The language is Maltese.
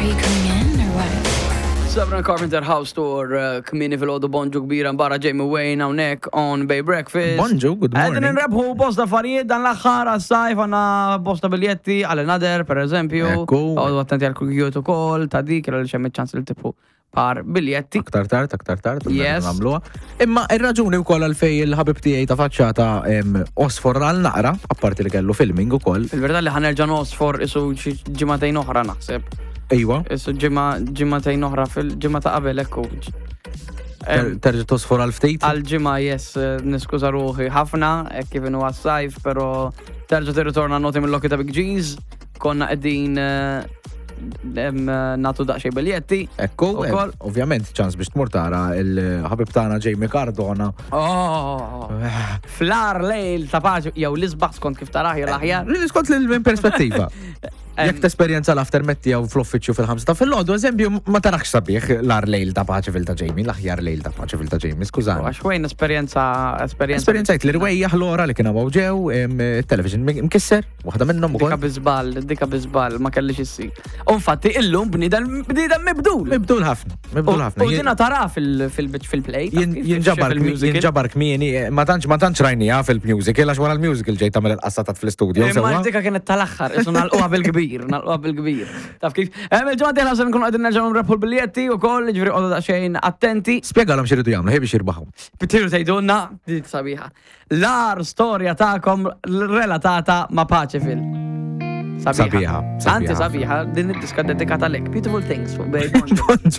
Are you coming in or what? Sabrina Carpenter House Tour, eh, kmini fil-ħodu bonġu kbira mbara Jamie Wayne hawnhekk on Bay Breakfast. Bonġu, good morning. Qegħdin nrebħu bosta affarijiet dan l-aħħar għas-sajf għandna bosta biljetti għal another per eżempju. Ekku. Għodu attenti għal krugijiet ukoll ta' dik għal xemm ċans li tibħu par biljetti. Aktar tard, aktar tard, Yes. nagħmluha. Imma ir-raġuni wkoll għalfej il-ħabib tiegħi ta' faċċata em, osfor għal naqra, apparti li kellu filming ukoll. Fil-verità li ħanerġa' nosfor isu xi ġimagħtejn oħra naħseb. Iwa, Isu ġimgħa ġimagħtejn oħra fil-ġimgħa ta' qabel ekku. ter- terġa' tosfor għal ftit. Għal ġimgħa yes, eh, niskuża ruħi ħafna, hekk kif inhu għas-sajf, però terġa' tirritorna noti mill-Lokki ta' Big G's. Konna qegħdin eh, em, eh, nagħtu daqsxejn biljetti. Ekku, Ukoll. ovvjament ċans biex tmur tara il-ħabib tagħna Jamie Cardona. Oh, fl-ar lejl ta' paċi, jew l-isbaħ skont kif taraħ jew l-aħjar. Skont l minn perspettiva. Jekk tesperjenza l-aftermath tiegħu fl-uffiċċju fil-ħamsa ta' fil-ħodu, eżempju, ma tarax sabiħ l-ar lejl ta' paċi fil ta' Jamie, l-aħjar lejl ta' paċi fil ta' Jamie, skużani. Għax wejn esperjenza, esperjenza. Esperjenzajt li rwejjaħ l-ora li kien hawn ġew, em, television mkisser, waħda minnhom Dika ukoll. bizbal, dika bizbal, ma kellix issir. U infatti illum bniedem bniedem mibdul. Mibdul ħafna, mibdul ħafna. U dina tara fil-play. Jinġabar jinġabar kmieni, eh, ma tantx ma tantx rajnija fil-musical għax wara l-musical ġejt tagħmel il-qassatat fl-istudio. Imma sewwa? dika kienet tal-aħħar, isu nalquha bil-kbir, nalquha bil-kbir. Taf kif? Hemm il-ġimgħa dieħla se nkunu qegħdin nerġgħu nrebħu l-biljetti wkoll, jiġifieri qogħdu daqsxejn attenti. Spjegalhom x'iridu jagħmlu, ħej biex jirbaħu. Btiru tgħidulna, dik sabiħa. L-ar storja tagħkom relatata ma' Paċefil. Sabiħa, sabiħa. Anzi sabiħa, din id-diska dedikata lek. Beautiful things fuq Babe. Bonġu.